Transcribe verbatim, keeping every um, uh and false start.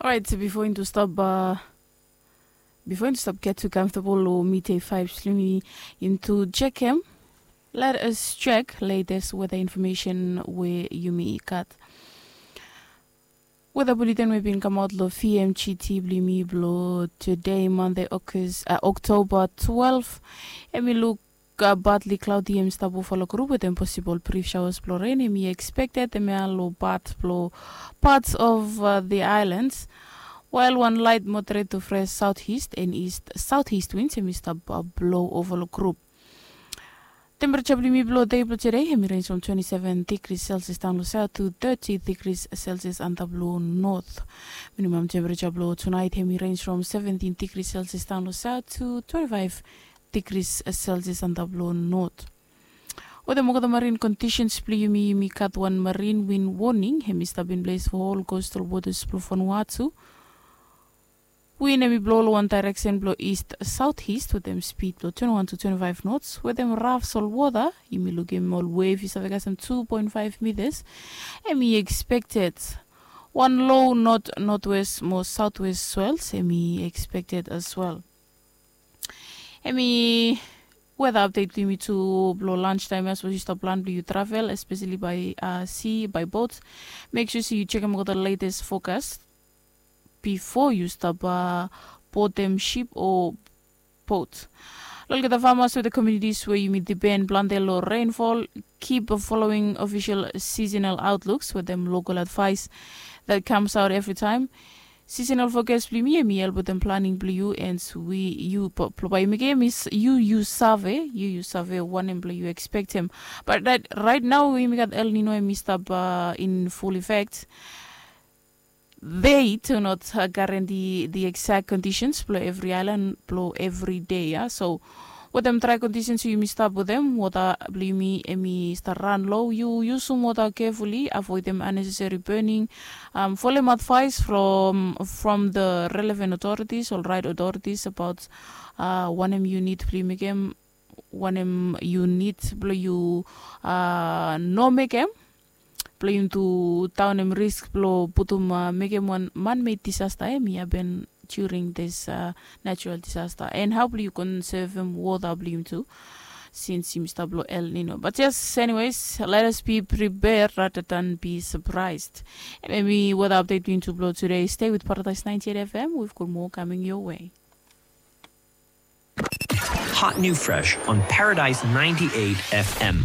Orait, bifo yumi tu stap, bifo yumi tu stap get tu comfortable long midday vibes blong yumi, yumi tu jekem. Let us check latest weather information we yumi gat. Weather bulletin we bin kamaot long V M G T blong yumi blong today, Monday, August, uh, October twelve. Em i luk uh, partly cloudy, em stap over long group wetem possible brief showers blong rain em i expected, em ya long part blong parts of uh, the islands. While one light moderate to fresh southeast and east southeast winds em i stap uh, blow over long group. Temperature blong yumi blong dei blong today em i range from twenty-seven degrees Celsius down long south to thirty degrees Celsius antap long north. Minimum temperature blong tonight em i range from seventeen degrees Celsius down long south to twenty-five degrees Celsius antap long north. Wetem olgeta marine conditions blong yumi, yumi gat wan marine wind warning em i stap in place for all coastal waters blong Vanuatu. Wind em i blo long wan direction blong east southeast wetem speed blong twenty-one to twenty-five knots. Wetem rough salt water, yumi lukim ol wave i save kasem two point five meters. Em i expected. Wan low north northwest mo southwest swells em i expected as well. Em i weather update blong yumi tu blong lunch time ya, sapos yu stap plan blong yu travel, especially by uh, sea, by boat. Make sure se yu chekem olgeta latest forecast bifo yu stap uh, botem ship o boat. Long olgeta farmers wetem communities we yumi depend plante long rainfall, keep following official seasonal outlooks wetem local advice that comes out every time. Seasonal forecast blong yumi em i help wetem planning blong yu and we yu blong bae yu mekem, yu yu save, yu yu save wanem blong yu expectem. But right, right now we yumi gat El Nino em i stap uh, in full effect. They do not uh, guarantee the exact conditions blong every island blong every day ya. So wetem dry conditions we yumi stap wetem, wota blong yumi em i stap ran lo. Yu yusum wota carefully, avoidem unnecessary burning. Um, folem advice from from the relevant authorities, ol right authorities about uh, wanem yu nid blong yu mekem, wanem yu nid blong yu uh, no mekem. Blong yumi tu daonem risk blong putum uh, mekem wan manmade disaster em i hapen during this uh, natural disaster. And hao blong yu konsevem wota blong yumi tu, since yumi stap long El Nino. But yes, anyways, let us be prepared rather than be surprised. Em i weather update blong yumi tu blong today. Stay with Paradise ninety-eight F M. We've got more coming your way. Hot new fresh on Paradise ninety-eight F M.